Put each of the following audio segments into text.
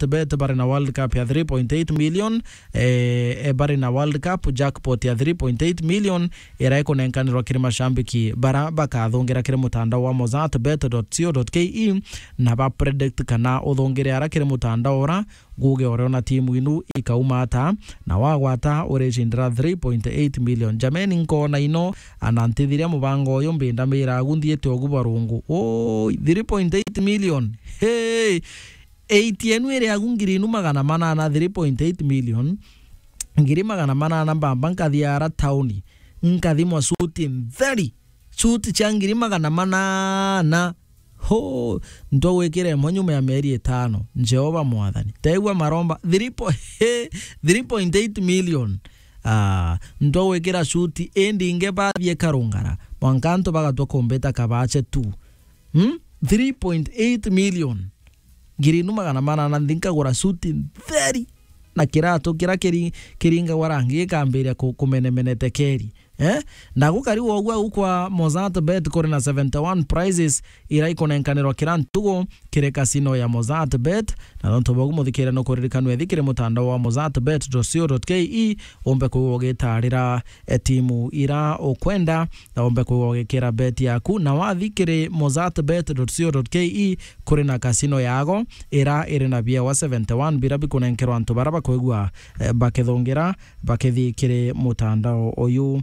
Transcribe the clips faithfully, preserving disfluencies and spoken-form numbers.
Mozart Bet bari na World Cup ya three point eight million, eh, eh, bari na World Cup jackpot ya three point eight million, ira ikunenkanirwa kiri mashambiki bara bakathungira kiri mutandao wa mozart bet dot co dot ke, na ba predict kana uthungire ara kiri mutandao ura, guge uriona timu inu ikauma ata, na wagwata uricindira three point eight million. Jameni, nkona ino, ana ntithiria mubango uyu, mbinda miragu nthiite ugu bwa rungu. Oi, three point eight million. Hey! Eight yenu iri agu ngiri inu magana manana, three point eight million. Ngiri magana manana mbamba nkathia ara tauni, nkathimwa suti ntheri. Suti cia ngiri magana manana. Ho, ntwa gwikira imwe nyuma ya mieri itano. Jehova Mwathani. Tegua maromba, three po-, three point eight million. Ah, ntwa gwikira suti, indi inge bathie karungara. Mwanka antu bagatwa kumbita kabache tu. Hmm? Three point eight million. Ngiri inu magana manana nthi nkagura suti ntheri na kiratu kira kiri-, kiringagwa rangi gikambiria ku-, kumenemenete keri. Eh? Na gukari wogu au kwa Mozart Bet kuri na seventy-one prizes ira ikunenkanirwa kira ntugu kiri casino ya Mozart Bet. Na nontu bogu muthikire no kuririkanwe thi kiri mutandao wa mozart bet dot co dot ke, umbe kwigua ugitarira, eh, timu ira ukwenda, na umbe kwigua ugikira bet yaku. Na wathi kiri mozart bet dot co dot ke, kuri na casino yago ira iri na biewa seventy-one bira bikunenkerwa antu bara bakwigua, eh, bakithungira, bakithi kiri mutandao uyu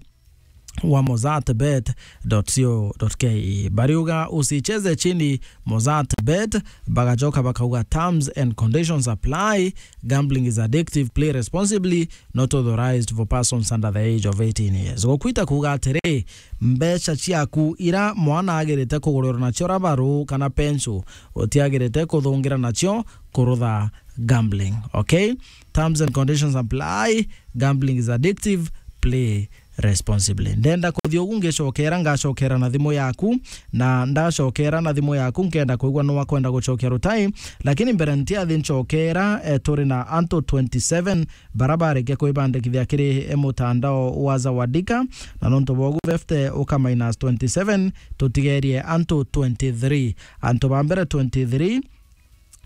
wa mozart bet dot co dot ke. Bariuga, "Usicheze chini Mozart Bet," bagacoka bakauga, "Terms and conditions apply, gambling is addictive, play responsibly, not authorized for persons under the age of eighteen years." Gukwita kuuga atiri, mbeca ciaku ira mwana agirite kugurirwa nacio rabaru kana pensu, utiagirite kuthungira nacio kurutha gambling. Okay? Terms and conditions apply. Gambling is addictive. Play responsibly. Ndenda kuthi ugu ngicokera, ngacokera na thimu yaku, na ndacokera na thimu yaku, nkenda kwigua nwa kwenda gucokia rutai, lakini mbere ntiathi ncokera, eh, turi na antu twenty-seven bara barikia kwibandikithia kiri, eh, mutandao wa Zawadika, na nontu bogu fifty uka minus twenty-seven, tutigerie antu twenty-three. Antu ba mbere twenty-three,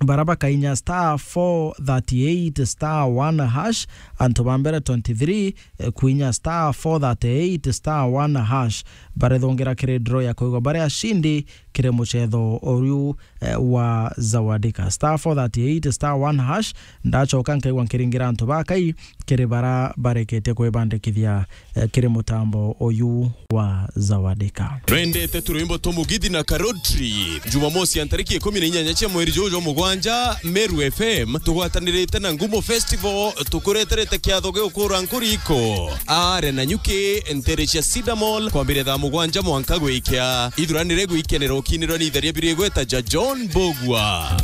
bara bakainya star four thirty-eight star one hash, antu ba mbere twenty-three, eh, kuinya star four thirty-eight star one hash, barethongera kiri draw ya kwigwa bari ashindi kiri mucetho uriu, eh, wa Zawadika. Star four thirty-eight star one hash, ndacoka nkaigua nkiringira antu bakai kiri bara bareketie kwibandikithia, eh, kiri mutambo uyu wa Zawadika. Twendete turwimbo twa Mugithi na Karotri. Jumamosi ya ntariki ikumi na inyanya cia mweri juju jwa mugwanja, Meru F M tugwatanirite na Ngumo Festival tukureterete kiatho gia gukura nkuriko. Are na nyuki ntere cia Cedar Mall kwambiria thaa mugwanja mwanka gwikia. Ithuranire gwikenera ukinirwa ni itheria biri igweta ja John Bogwa.